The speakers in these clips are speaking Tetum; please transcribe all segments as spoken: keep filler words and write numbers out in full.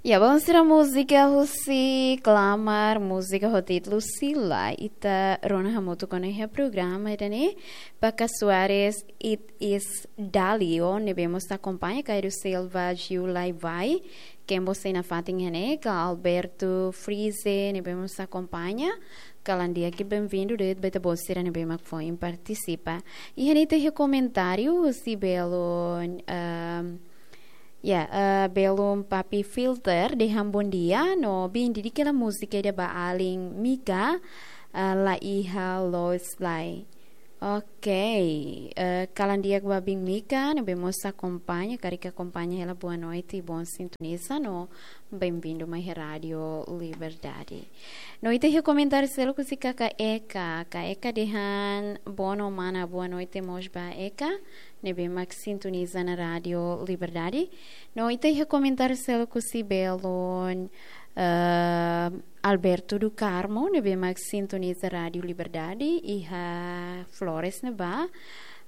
Ya, vamos tirar múzika husi Klamar, múzika ho títulu Sila. Ita rona hamutuk ona iha programa ida-ne'e. Paca Soares, It Is Dalio, ne'ebé mós akompaña, Cairo Silva, Gil Lai Vai, Kembo sei nafatin iha ne'e, ka Alberto Frize, ne'ebé mós akompaña, kalan di'ak i benvindu de'it ba ita-boot sira ne'ebé mak foin partisipa. Iha ne'e ita iha komentáriu husi belun, ehm, ya, eh, belun Papi Filter dehan bondia, no bin didik hela múzika ida ba alin Mika, eh, la iha loos lai. Oke, eh, kalan di'ak ba bin Mika, ne'ebé mós akompaña, karik akompaña hela boa noite, bom sintoniza, no benvindu mai iha Rádio Liberdade. No ita iha komentáriu seluk husi kaka Eka, kaka Eka dehan, boa no mana, boa noite mós ba Eka, ne'ebé mak sintoniza ona Rádio Liberdade. No ita iha komentáriu seluk husi belun, eh, Alberto do Carmo, ne'ebé mak sintoniza Rádio Liberdade, iha Flores ne'ebá,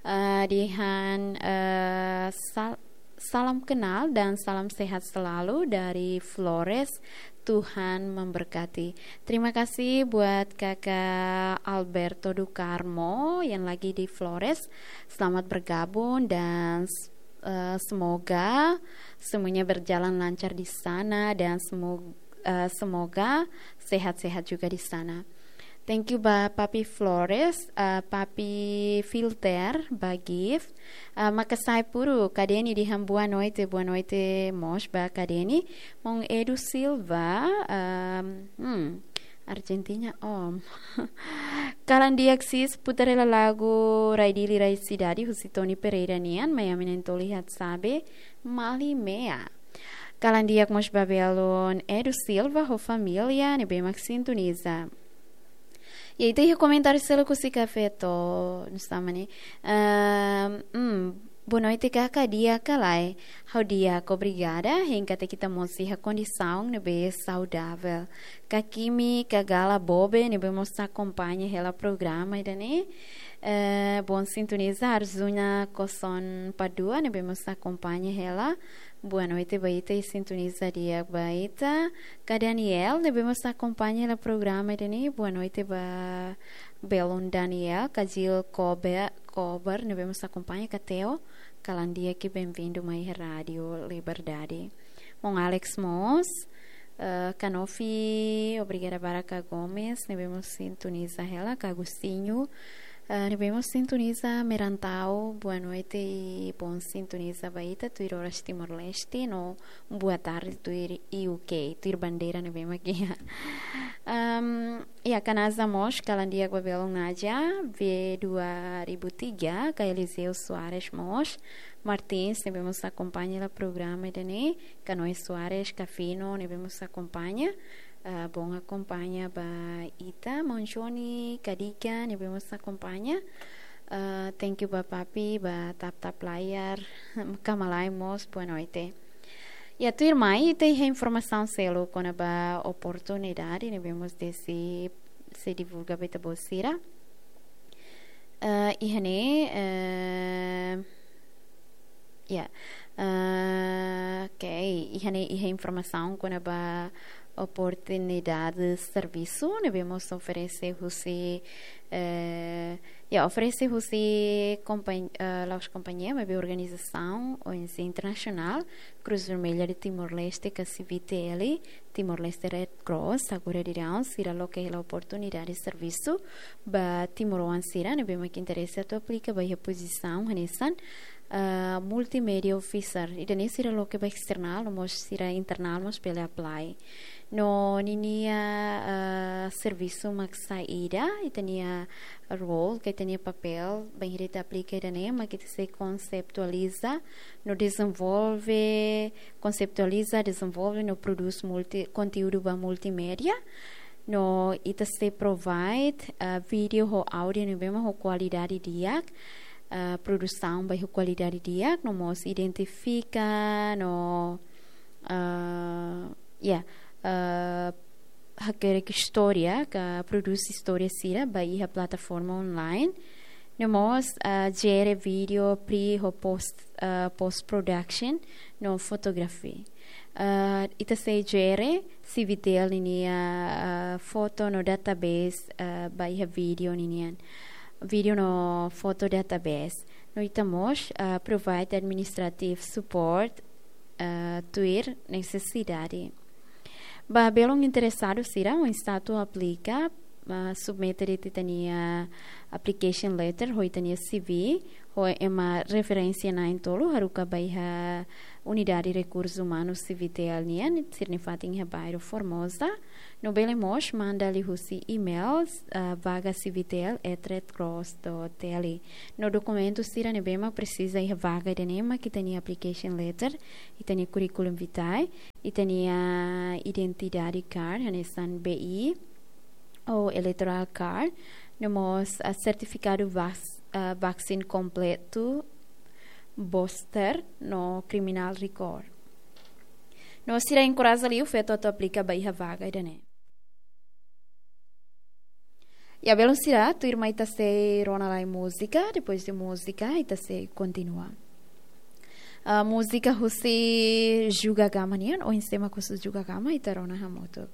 eh, dehan, eh, sal-, salam kenal dan salam sehat selalu dari Flores. Tuhan memberkati. Terima kasih buat Kakak Alberto do Carmo yang lagi di Flores. Selamat bergabung dan, eh, semoga semuanya berjalan lancar di sana dan semo-, eh, semoga sehat-sehat juga di sana. Thank you ba Papi Flores, eh, Papi Filter, ba Gift. Eh, Makasai Puru, Kadeni dehan boa noite, boa noite mós ba Kadeni. Maun Edu Silva, ehm, hmm, Argentina, om. Kalan di'ak sis, putar hela lagu Rai Dili Rai Sidade, husi Tony Pereira nian, mai ami na'in-tolu iha Sabe, Mali Mea. Kalan di'ak mós ba belun Edu Silva ho família, ne'ebé mak sintoniza. Ya, ita iha komentáriu seluk husi Kafé To, nusama ni. Ehm, hmm, boa noite, kaka, di'ak ka lae? Ha'u di'ak, obrigada, hein katak ita mós iha kondisaun ne'ebé saudavel. Kakimi, Kagala Bobe, ne'ebé mós akompaña hela programa ida-ne'e. Eh, bom sintoniza, Arzuna Koson Padua, ne'ebé mós akompaña hela. Boa noite ba ita i sintoniza di'ak ba ita. Ka Daniel, ne'ebé mós akompaña hela programa ida-ne'e. Boa noite ba belun Daniel, ka Jill Kobe-, Kober, ne'ebé mós akompaña, ka Theo, kalan di'ak i benvindu mai Rádio Liberdade. Maun Alex mós, eh, Kanofi, obrigada barak ka Gomes, ne'ebé mós sintoniza hela, ka Agostinho, eh, ne'ebé mós sintoniza Merantau, boa noite i bom sintoniza ba ita, tuir oras Timor-Leste, no boa tarde tuir U K, tuir bandeira ne'ebé mak iha. Ehm, ya, ka Naza mós, kalan di'ak ba belun Naja, V dua ribu tiga, ka Eliseu Soares mós, Martins, ne'ebé mós akompaña hela programa ida-ne'e, ka Noé Soares, ka Fino, ne'ebé mós akompaña, ah, bom akompaña ba ita, maun Johnny, ka Dika, ne'ebé mós akompaña. Ah, thank you ba Papi, ba tap-tap layar, ka Malai mós, boa noite. Ya, tuirmai, ita iha informasaun seluk kona-ba oportunidade, ne'ebé mós sei, sei divulga ba ita-boot sira. Eh, iha ne'e, eh, ya, eh, oke, iha ne'e, iha informasaun kona-ba oportunidade servisu, ne'ebé mós oferese husi, eh, ya, oferese husi kompañ-, eh, la'ós kompañia, maibé organizasaun, O N G internasionál, Cruz Vermelha de Timor-Leste, ka C V T L, Timor-Leste Red Cross, agora daudaun, sira loke hela oportunidade servisu ba timoroan sira ne'ebé mak interese atu aplika ba iha pozisaun hanesan, ah, multimedia officer. Ida-ne'e sira loke ba external, no mós sira internal mós bele apply. No ninia, ah, servisu mak saida, ita-nia role, ka ita-nia papél, bainhira ita aplika ida-ne'e, mak ita sei konseptualiza, no dezenvolve, konseptualiza, dezenvolve, no prodús multi-, konteúdu ba multimédia. No ita sei provide, ah, vídeo ho áudio ne'ebé mak ho kualidade di'ak, ah, produsaun ba ho kualidade di'ak, no mós identifika, no, ah, ya, ah, hakerek istória, ka prodús istória sira ba iha plataforma online. No mós, ah, jere vídeo pre ho post, ah, post production no photography. Ah, ita sei jere CVTL ninia, ah, foto no database, ah, ba iha vídeo ninian. Vídeo no foto database. No ita mós, ah, provide administrative support, ah, tuir nesesidade. Ba belun interesadu sira, oinsá atu aplika, ah, submete de'it ita-nia application letter, ho ita-nia C V, ho ema referénsia na'in-tolu, haruka ba iha Unidade Rekursu Umanu CVTL nian, sira-nia fatin iha bairru Formosa. No bele mós manda liuhusi email, ah, vaga CVTL at red cross dot T L. No dokumentu sira ne'ebé mak presiza iha vaga ida-ne'e mak ita-nia application letter, ita-nia curriculum vitae, ita-nia identidade card, hanesan B I, ou electoral card, no mós, ah, sertifikadu vac-, ah, vaccine kompletu, booster, no criminal record. No sira enkoraja liu feto atu aplika ba iha vaga ida-ne'e. Ya belun sira, tuirmai ita sei rona lai múzika, depois de múzika, ita sei kontinua. Ah, múzika husi Juga Gama nian, oinsá mak husi Juga Gama, ita rona hamutuk.